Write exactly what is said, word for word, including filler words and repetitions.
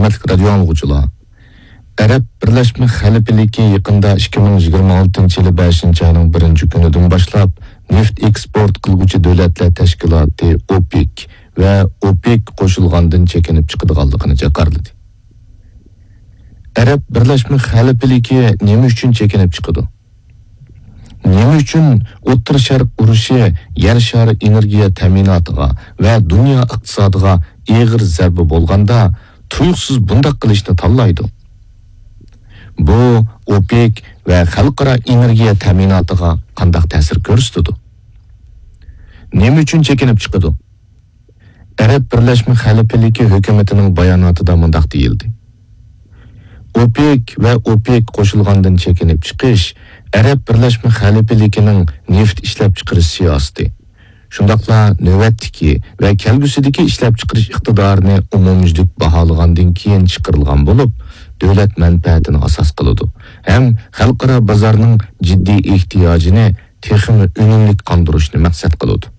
ھۆرمەتلىك رادىيو ئاڭلىغۇچىلار! ئەرەب بىرلەشمە خەلىپىلىكى يېقىندا ئىككى مىڭ يىگىرمە ئالتىنچى يىلى بەشىنچى ئاينىڭ بىرىنچى كۈنىدىن باشلاپ نېفىت ئېكسپورت قىلغۇچى دۆلەتلەر تەشكىلاتى ئوپېك ۋە ئوپېك قوشۇلغاندىن چېكىنىپ چىقىدىغانلىقىنى جاكارلىدى. ئەرەب بىرلەشمە خەلىپىلىكى نېمە ئۈچۈن چېكىنىپ چىقىدۇ؟ نېمە ئۈچۈن ئوتتۇرا شەرق ئۇرۇشى يەر شارى ئېنېرگىيە تەمىناتىغا ۋە دۇنيا ئىقتىسادىغا ئېغىر زەربە بولغاندا، تۇيۇقسىز بۇنداق قىلىشنى تاللايدۇ؟ بۇ ئوپېك ۋە خەلقئارا ئېنېرگىيە تەمىناتىغا قانداق تەسىر كۆرسىتىدۇ؟ نېمە ئۈچۈن چېكىنىپ چىقىدۇ؟ ئەرەب بىرلەشمە خەلىپىلىكى ھۆكۈمىتىنىڭ باياناتىدا مۇنداق دېيىلدى: ئوپېك ۋە ئوپېك قوشۇلغاندىن چېكىنىپ چىقىش ئەرەب بىرلەشمە خەلىپىلىكىنىڭ نېفىت ئىشلەپچىقىرىش سىياسىتى، شۇنداقلا نۆۋەتتىكى ۋە كەلگۈسىدىكى ئىشلەپچىقىرىش ئىقتىدارىنى ئومۇميۈزلۈك باھالىغاندىن كېيىن چىقىرىلغان بولۇپ، دۆلەت مەنپەئەتىنى ئاساس قىلىدۇ ھەم خەلقئارا بازارنىڭ جىددىي ئېھتىياجىنى تېخىمۇ ئۈنۈملۈك قاندۇرۇشنى مەقسەت قىلىدۇ.